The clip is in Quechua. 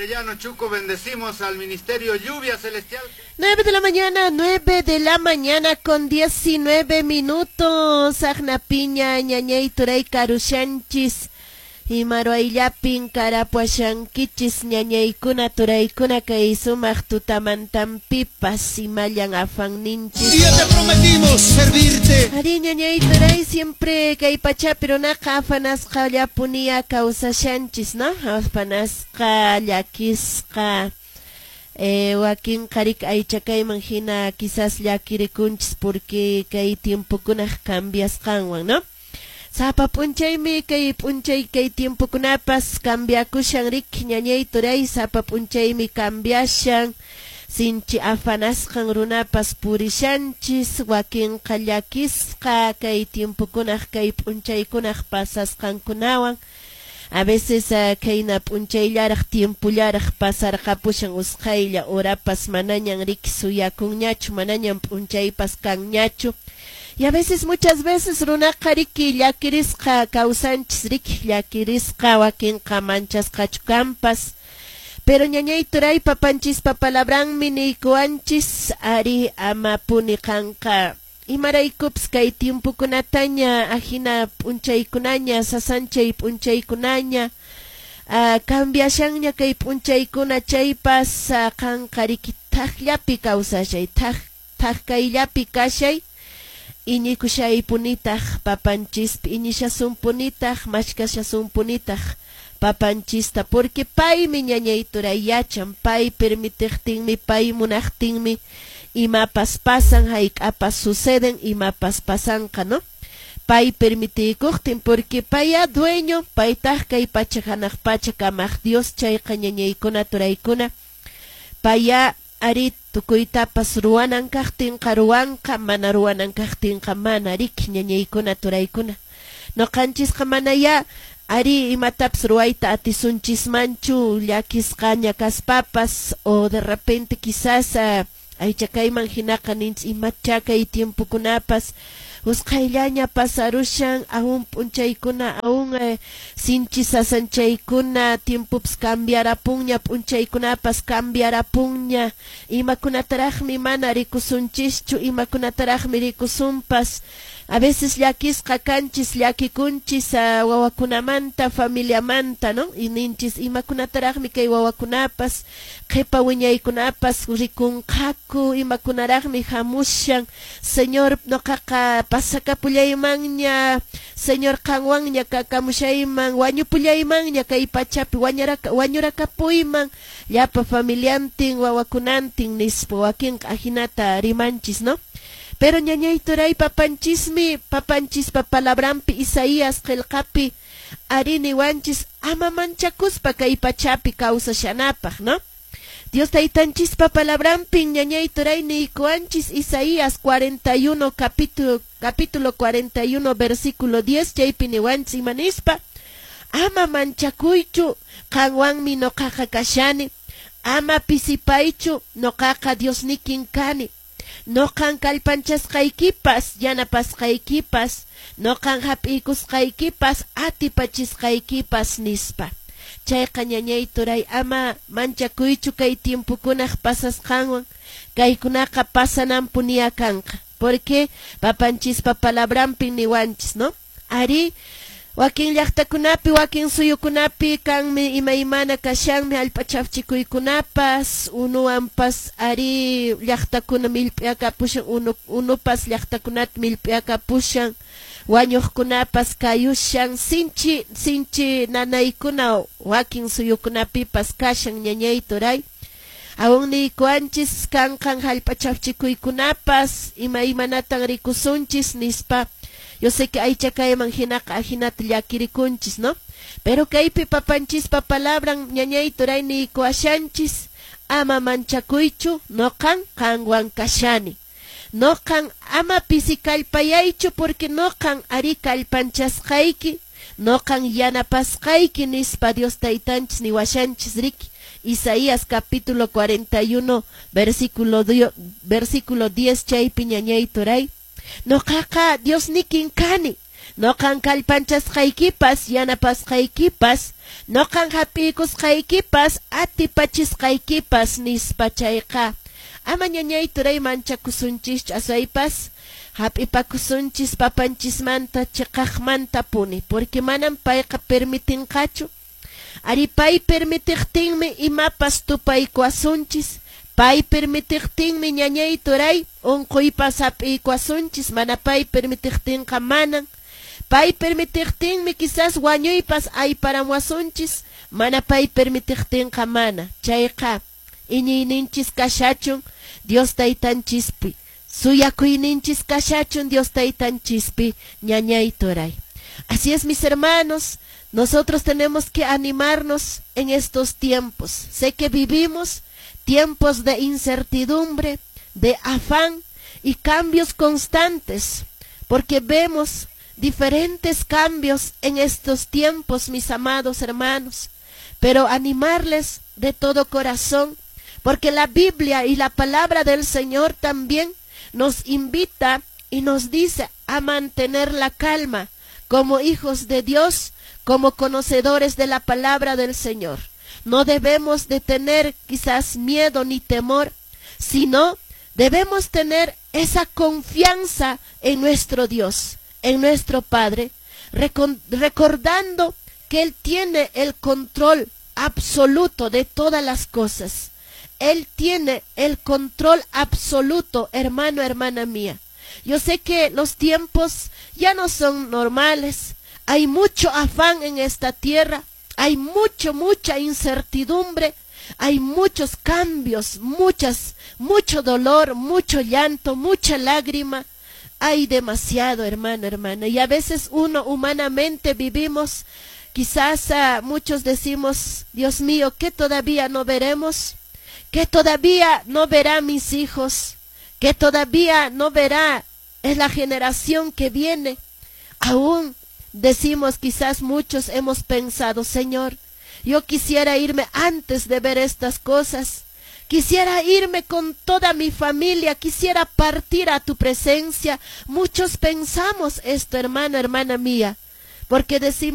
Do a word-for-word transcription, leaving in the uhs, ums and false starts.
Arellano Chuco, bendecimos al Ministerio Lluvia Celestial. nueve de la mañana, nueve de la mañana con diecinueve minutos. Agnapiña, ñañay turay karushanchis. Imaruayllapin karapuashankichis ñañaykuna turaykuna kay sumaq tutamantampipas imallan afanninchis. Y ya te prometimos servirte. Ari ñañay turay siempre kay pachapi runaqa afanasqa llapunia kawsashanchis, ¿no? Afanasqa llakisqa. Eh, wakin qarik aychakayman hina quizás llakirikunchis porque kay tiempokunaq cambiasqanwan, ¿no? Sapa p'unchaymi kay p'unchay kay tiempokunapas cambiakushan riki ñañay turay, sapa p'unchaymi cambiashan, sinchi afanasqan runapas purishanchis, wakinqa llakisqa kay tiempokunaq kay p'unchaykunaq pasasqankunawan. A veces uh, kayna p'unchayllaraq tiempollaraq pasarqapushan usqhaylla horapas manañan riki suyakunñachu, manañan p'unchaypas kanñachu. Y a veces, muchas veces, runaqa riki llakirisqa kawsanchis riki llakirisqa wakinqa manchasqachu kanpas. Pero ñañay turay papanchispa palabranmi niykuwanchis ari amapuni qanqa imaraykupas kay tiempokunataña ajina p'unchaykunaña sasanchay p'unchaykunaña uh, cambiashanña kay p'unchaykuna chaypas uh, qanqa riki thaqllapi kawsashay thaq thaq kayllapi kashay iñikushaypunitaq papanchispi iñishasunpunitaq mashkashasunpunitaq papanchista porque paymi ñañay turay yachan pay permitiqtinmi pay munaqtinmi imapas pasan hayk'apas suceden imapas pasanqa, ¿no? Pay permitiykuqtin porque paya dueño paytaq kay pacha hanaq pacha kamaq Dios chayqa ñañaykuna turaykuna paya ari tukuytapas ruwanan kaqtinqa ruwanqa mana ruwanan kaqtinqa mana riki ñañaykuna turaykuna noqanchisqa manaya ari imatapas ruwayta atisunchismanchu llakisqaña kaspapas o de repente quizás uh, aychakayman hinaqa ninchis imacha kay tiempokunapas usqhayllaña pasarushan aún p'unchaykuna aún eh, sinchi sasanchaykuna tiempopas cambiarapunña p'unchaykunapas cambiarapunña imakunataraqmi mana rikusunchischu imakunataraqmi rikusunpas. A veces llakisqa kanchis llakikunchis uh, wawakunamanta familiamanta, ¿no? Y ninchis imakunataraqmi kay wawakunapas qhipa wiñaykunapas rikunqaku imakunaraqmi hamushan. Señor, noqaqa pasakapullaymanña, Señor, qanwanña kakamushayman wañupullaymanña kay pachapi wañaraka wañurakapuyman llapa familiantin wawakunantin nispa wakinqa ajinata rimanchis, ¿no? Pero ñañay turay papanchismi papanchispa palabranpi Isaías qillqapi ari niwanchis ama manchakuspa kay pachapi kawsashanapaq, ¿no? Dios taytanchispa palabranpi ñañay turay niykuwanchis Isaías cuarenta y uno capítulo capítulo cuarenta y uno versículo diez chaypi niwanchis imanispa: ama manchakuychu, qanwanmi noqaqa kashani, ama pisipaychu, noqaqa Diosnikin kani, noqan kallpanchasqaykipas yanapasqaykipas noqan hap'iykusqaykipas atipachisqaykipas nispa. Chayqa ñañay turay ama manchakuychu kay tiempokunaq pasasqanwan, kaykunaqa pasananpunia kanqa porque papanchispa palabranpi niwanchis, ¿no? Ari wakin llaqtakunapi wakin suyukunapi kanmi imaymana kashanmi allpa chafchikuykunapas unuwanpas ari llaqtakuna millp'iyakapushan unu unupas llaqtakunata millp'iyakapushan wañuqkunapas kayushan sinchi sinchi nanaykuna wakin suyukunapipas kashan ñañay turay aún niykuwanchis kanqan hallp'a chafchikuykunapas imaymanatan rikusunchis nispa. Yo sé que aycha kayman hinaqa ajinata llakirikunchis, ¿no? Pero kaypi papanchispa palabran ñañay turay niykuwashanchis ama manchakuychu, noqan qanwan kashani, noqan ama pisikallpayaychu porque noqan ari kallpanchasqayki noqan yanapasqayki nispa Dios taytanchis niwashanchis riki. Isaías capítulo cuarenta y uno versículo, versículo diez chaypi ñañay turay noqaqa Diosnikin kani. Noqan kallpanchasqaykipas, yanapasqaykipas, noqan hap'iykusqaykipas, atipachisqaykipas nispa. Chayqa ama ñañay turay manchakusunchischu, aswaypas hap'ipakusunchis papanchismanta chiqaqmantapuni, porque manam payqa permitinqachu. Ari pay permitiqtinmi imapas tupaykuwasunchis, pay permitiqtinmi ñañay turay unquypas hap'iykuwasunchis, mana pay permitiqtinqa manan. Pay permitiqtinmi quizás wañuypas ayparamuwasunchis, mana pay permitiqtinqa mana. Chayqa iñiyninchis kashachun Dios taytanchispi, suyakuyninchis kashachun Dios taytanchispi, ñañay turay. Así es, mis hermanos, nosotros tenemos que animarnos en estos tiempos. Sé que vivimos tiempos de incertidumbre, de afán y cambios constantes, porque vemos diferentes cambios en estos tiempos, mis amados hermanos, pero animarles de todo corazón, porque la Biblia y la palabra del Señor también nos invita y nos dice a mantener la calma como hijos de Dios, como conocedores de la palabra del Señor. No debemos de tener quizás miedo ni temor, sino debemos tener esa confianza en nuestro Dios, en nuestro Padre, recordando que Él tiene el control absoluto de todas las cosas. Él tiene el control absoluto, hermano, hermana mía. Yo sé que los tiempos ya no son normales. Hay mucho afán en esta tierra, hay mucho, mucha incertidumbre, hay muchos cambios, muchas, mucho dolor, mucho llanto, mucha lágrima. Hay demasiado, hermano, hermana. Y a veces uno humanamente vivimos, quizás uh, muchos decimos, Dios mío, ¿qué todavía no veremos? ¿Qué todavía no verá mis hijos? ¿Qué todavía no verá es la generación que viene? Aún decimos, quizás muchos hemos pensado, Señor, yo quisiera irme antes de ver estas cosas. Quisiera irme con toda mi familia, quisiera partir a tu presencia. Muchos pensamos esto, hermano, hermana mía, porque decimos,